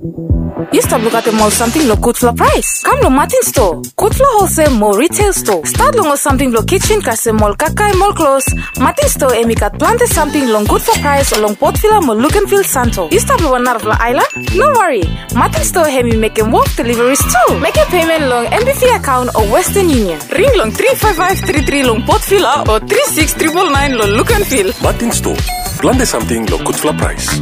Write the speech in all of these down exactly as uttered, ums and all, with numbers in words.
Yu stap lukaotem ol samting long gudfala praes? Kam long Martin Store, gudfala holsel mo retail store. Stat long ol samting blong kitchen kasem ol kakae mo ol klos. Martin Store hemi gat plante samting long gudfala praes long Port Vila mo Luganville Santo. Yu stap long wan narafala aelan? No wari. Martin Store hemi mekem wok deliveries tu. Mekem payment long M B V account o Western Union. Ring long tri five five tri tri long Port Vila o tri six triple nine long Luganville. Martin Store, plante samting long gudfala praes.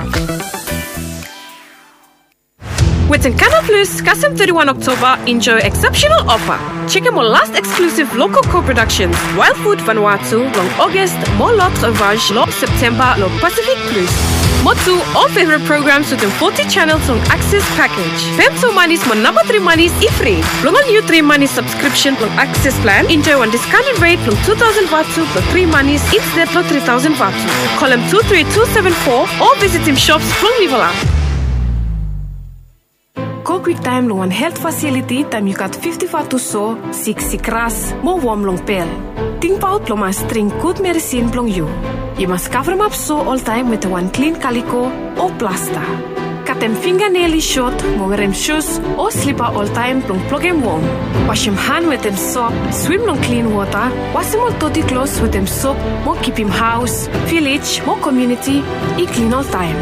Wetem Canal Plus, kasem thirty-one October, enjoy exceptional offer. Check out my last exclusive local co-productions, Wild Food Vanuatu, long August, mo L'Autre Vache, long September, long Pacific Plus. Mo tu, all favorite programs wetem forty channels long Access package. Fem tu manis mo namba tri manis i fri. Blong ol niu tri manis subscription blong Access plan, enjoy wan discounted rate blong two thousand vatu blong tri manis instead blong three thousand vatu. Kolem two three two seven four o visitim shops blong Livela. Go kwiktaem long wan helt fasiliti taem yu gat fifti vatu so, siksik ras, mo wom long pel. Tingbaot blong mas dring gud meresin blong yu. Yu mas kavremap so oltaem wetem wan klin kaliko o plasta. Katem finganel i sot mo werem sus o slipa oltaem blong blokem wom. Wasem han wetem sop, swim long klin wota, wasem ol doti klos wetem sop mo kipim haos, vilej mo komuniti i klin oltaem.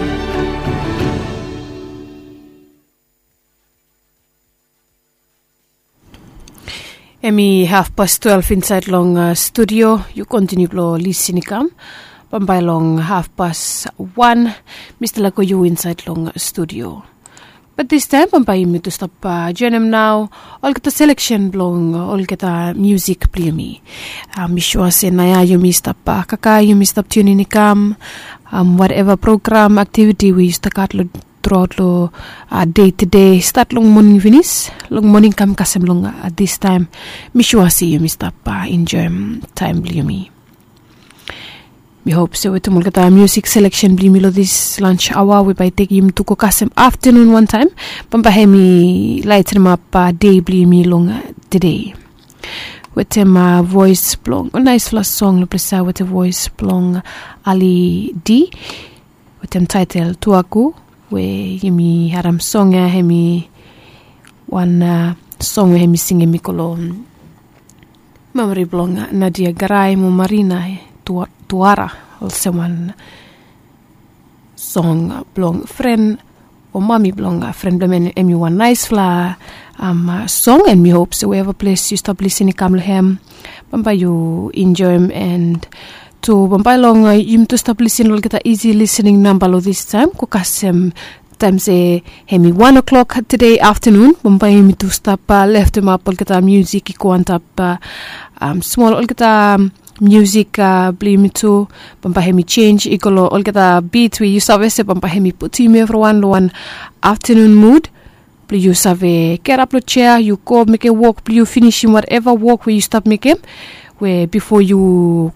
Hemi hafpas twelef insaed long studio. Yu kontiniu blong lisin i kam. Bambae long hafpas wan mi stap laek go yu insaed long studio. Bat distaem bambae yumi tu stap joenem nao olgeta seleksen blong olgeta musik blong yumi. Mi sua se naoia yumi stap kakae, yumi stap tiunin i kam. Wateva program, aktiviti we yu stap gat long truaot long dei tede, stat long moning finis long moning kam kasem long distaem. Mi sua se yumi stap enjoem taem blong yumi. Mi hop se wetem olgeta musik seleksen blong yumi long dis lans aoa we bae i tekem yumi tu go kasem aftanun wantaem, bambae hemi laetenemap dei blong yumi long tede. Wetem voes blong ol naesfala song long ples ia wetem voes blong Ali D. Wetem taetel Tuaku, we yumi harem song ia hemi wan song we hemi singem i go long memori blong Nadia Garai mo Marina Tuara, olsem wan song blong fren o mami blong fren blong hem. Hemi wan naesfala song, and mi hop se wherever ples yu stap lisin i kam long hem, bambae yu enjoem. And tu bambae long yumi tu stap lisin long olgeta isi lisining namba long distaem go kasem taem se hemi wan o'clock tede aftanun, bambae yumi tu stap leftemap olgeta musik i go antap smol olgeta musik blong yumi tu. Bambae hemi jenis i go long olgeta bit we yu save se bambae hemi putum yumi evriwan long wan aftanun mud blong yu save gerap long jea, yu go mekem wok blong yu, finisim wateva wok we yu stap mekem we bifo yu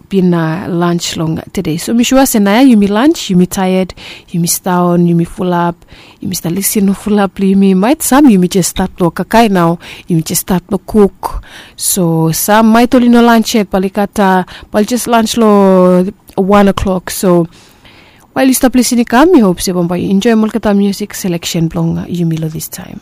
bin lans long tede. So mi sua se naoia yumi lans, yumi taet, yumi sidaon, yumi fulap, yumi stap lisin long fulap blong yumi. Maet sam yumi jes stat long kakae nao, yumi jes stat long kuk. So sam maet oli no lans yet, bae oli gat, bae oli jes lans long wan o'clock. So wael yu stap lisin i kam, mi hop se bambae yu enjoem olgeta musik seleksen blong yumi long distaem.